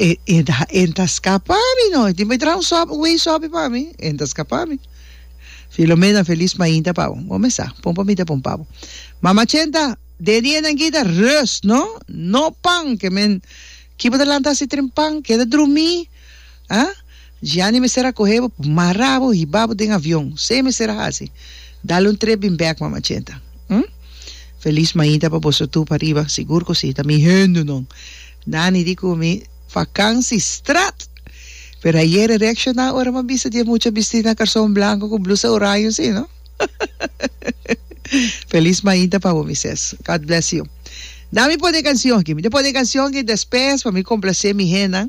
e e ta e ta skapa mi no. E tin bai traha un sòpi, un wei sòpi pa mi. E ta skapa mi. Filomena, felis mainta pa bo. Bo mes sa, pon pa mi ta pon pa bo. Mama Chenta, den dianan aki ta rust, no? No pan, ke men ki bo ta lanta hasi tren pan, keda drumí. Ah? Gianni mester a kohe bo, mara bo, hiba bo den avion. Esei mester a hasi. Dal un trip bin bek, Mama Chenta. Hm? Felis mainta pa boso tur pariba. Sigur ku si, ta mi hendenan. Nani di ku mi vakansi strat! Pero ayer e reakshoná ora mi a bisa di e mucha bistí na karson blanko ku blusa oraño si, no? Felis mainta pa bo, mi ses. God bless you. Na mi pone e kansion aki. Mi ta pone e kansion aki despes pa mi komplasé mi hennan.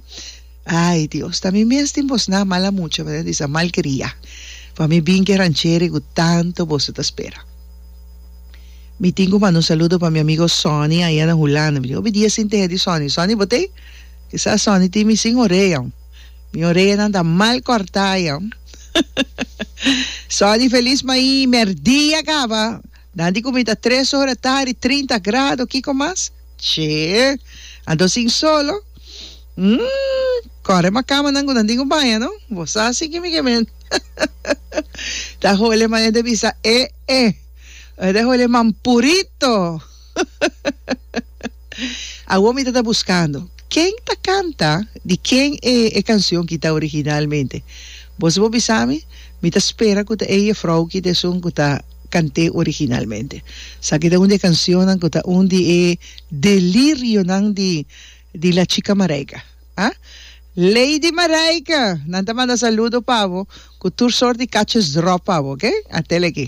Ay Dios, ta mi mes tin bosnan mala mucha, mi ta bisa malkria, pa mi bin ke rancheri ku tanto boso ta spera. Mi tin ku manda un saludo pa mi amigo Sonny aya na Hulanda. Mi tin hopi dia sin tehe di Sonny. Sonny bo t'ei? Kisas Sonny tin mi sin orea. Mi oreanan ta mal kòrtá aya. Sonny felis mai mèrdia kaba. Nan di ku mi ta tres ora tardi, trinta grado, kiko mas? Che, anto sin solo? Umm, kòre ma kamanan ku nan tin ku baña no. Bo sa si ki mi ke men. Ta hole manera ta bisa e e. Ta hole mampurito. Awor mi ta ta buskando ken ta kanta di ken e e kansion ki ta originalmente. Boso por bisa mi? Mi ta spera ku ta e jefrou ki ta esun ku ta kant'é originalmente. Esaki ta un di e kansionnan ku ta un di e delirionan di di la chica Marijke. Ah? Lady Marijke! Nan ta manda saludo pa bo ku tur sort di kachesdròp pa bo, oke? Atele aki.